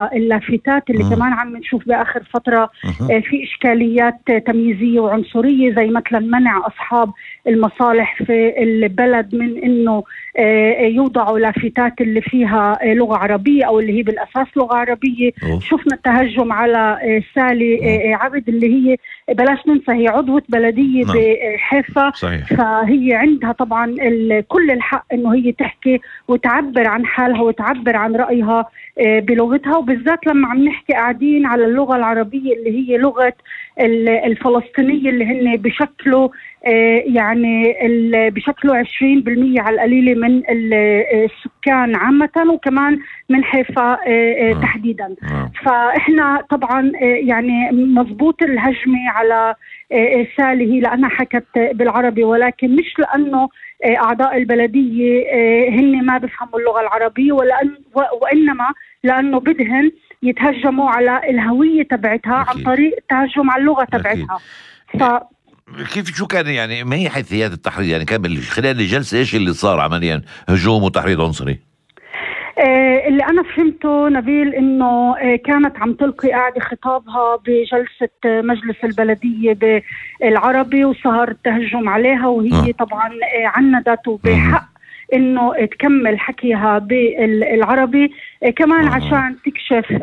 اللافتات اللي كمان عم نشوف بآخر فترة في إشكاليات تمييزية وعنصرية، زي مثلا منع أصحاب المصالح في البلد من إنه يوضعوا لافتات اللي فيها لغة عربية أو اللي هي بالأساس لغة عربية. شفنا التهجم على سالي عبد اللي هي بلاش ننسى هي عضوة بلدية بحيفا، فهي عندها طبعا كل الحق إنه هي تحكي وتعبر عن حالها وتعبر عن رأيها بلغتها، وبالذات لما عم نحكي قاعدين على اللغة العربية اللي هي لغة الفلسطينية اللي هن بشكله يعني بشكله 20% على القليلة من السكان عامة وكمان من حيفا تحديدا. فإحنا طبعا يعني مضبوط الهجمة على سالي هي لأنها حكت بالعربي، ولكن مش لأنه أعضاء البلدية هن ما بفهموا اللغة العربية، وإنما لأنه بدهن يتهجموا على الهوية تبعتها عن طريق التهجم على اللغة تبعتها. كيف شو كان يعني ما هي حيثيات التحريض؟ يعني كان خلال الجلسة ايش اللي صار عمليا؟ هجوم وتحريض عنصري؟ اللي أنا فهمته نبيل إنه كانت عم تلقي قاعدة خطابها بجلسة مجلس البلدية بالعربي وصار التهجم عليها، وهي طبعا عندت وبحق إنه تكمل حكيها بالعربي كمان عشان تكشف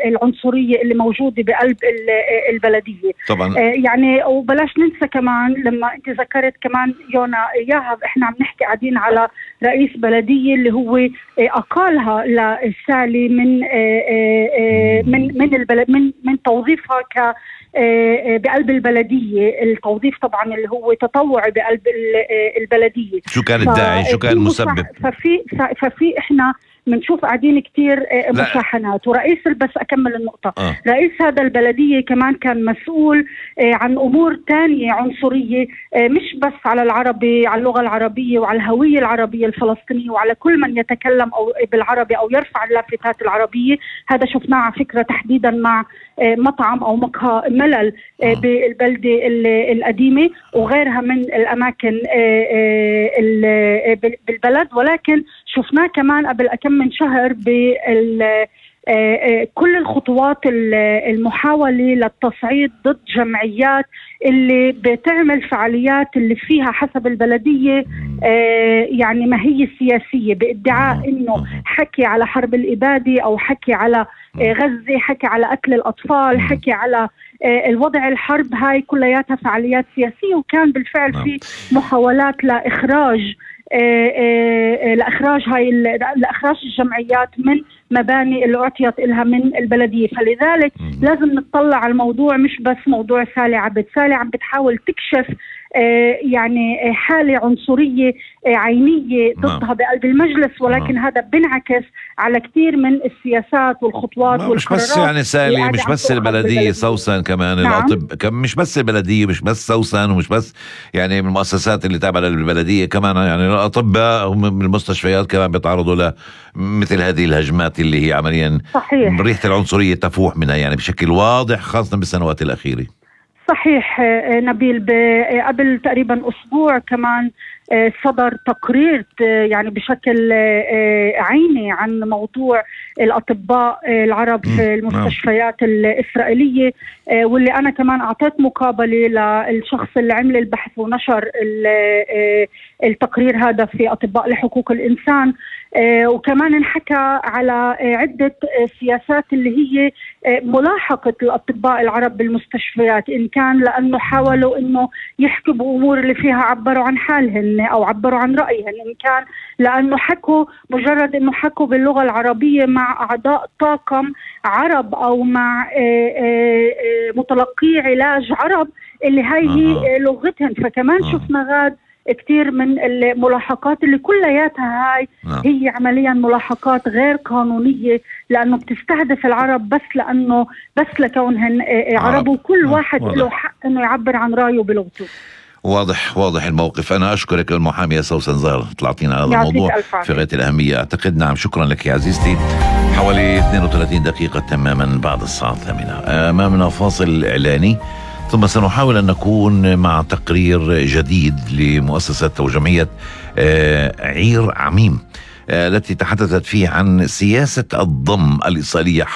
العنصرية اللي موجودة بقلب البلدية طبعا. يعني وبلاش ننسى كمان لما انت ذكرت كمان يونا إياها، احنا عم نحكي قاعدين على رئيس بلدية اللي هو أقالها لسالي من توظيفها بقلب البلدية. التوظيف طبعا اللي هو تطوعي بقلب البلدية. شو كان الداعي؟ شو كان المسبب؟ ففي احنا منشوف قاعدين كتير مشاحنات. ورئيس بس أكمل النقطة رئيس هذا البلدية كمان كان مسؤول عن أمور تانية عنصرية، مش بس على العربي، على اللغة العربية وعلى الهوية العربية الفلسطينية وعلى كل من يتكلم أو بالعربي أو يرفع اللافتات العربية. هذا شفناه على فكرة تحديدا مع مطعم أو مقهى ملل بالبلدة القديمة وغيرها من الأماكن بالبلد. ولكن شفناه كمان قبل كم من شهر كل الخطوات المحاولة للتصعيد ضد جمعيات اللي بتعمل فعاليات اللي فيها حسب البلدية يعني ما هي سياسية، بادعاء انه حكي على حرب الإبادة او حكي على غزة، حكي على قتل الأطفال، حكي على الوضع الحرب. هاي كلياتها فعاليات سياسية، وكان بالفعل في محاولات لإخراج لإخراج الجمعيات من مباني اللي أعطيت إلها من البلدية. فلذلك لازم نتطلع على الموضوع مش بس موضوع سالي عبد. سالي عم بتحاول تكشف يعني حالة عنصرية عينية ضدها بقلب المجلس، ولكن هذا بنعكس على كثير من السياسات والخطوات والقرارات. مش بس يعني سالي، مش بس البلدية، سوسن كمان مش بس البلدية، مش بس سوسن، ومش بس يعني من المؤسسات اللي تابعة للبلدية، كمان يعني الأطباء من المستشفيات كمان بيتعرضوا لمثل هذه الهجمات اللي هي عمليا صحيح ريحة العنصرية تفوح منها يعني بشكل واضح، خاصة بالسنوات الأخيرة. صحيح نبيل. قبل تقريبا أسبوع كمان صدر تقرير يعني بشكل عيني عن موضوع الأطباء العرب في المستشفيات الإسرائيلية، واللي أنا كمان أعطيت مقابلة للشخص اللي عمل البحث ونشر التقرير هذا في أطباء لحقوق الإنسان. وكمان انحكى على عدة سياسات اللي هي ملاحقة الأطباء العرب بالمستشفيات، إن كان لأنه حاولوا إنه يحكوا بأمور اللي فيها عبروا عن حالهن أو عبروا عن رأيهن، إن كان لأنه حكوا مجرد إنه حكوا باللغة العربية مع أعضاء طاقم عرب أو مع متلقي علاج عرب اللي هاي هي لغتهن. فكمان شفنا غاد كتير من الملاحقات اللي كلياتها هاي هي عمليا ملاحقات غير قانونية، لأنه بتستهدف العرب بس لكونهن عرب، وكل واحد له حق إنه يعبر عن رأيه بلغته. واضح الموقف. أنا أشكرك المحامية سوسن زهر، طلعتينا على هذا الموضوع في غاية الأهمية أعتقد. نعم، شكرا لك يا عزيزتي. حوالي 32 دقيقة تماما بعد الساعة 8 أمامنا فاصل إعلاني، ثم سنحاول أن نكون مع تقرير جديد لمؤسسة أو جمعية عير عميم التي تحدثت فيه عن سياسة الضم الإسرائيلية حول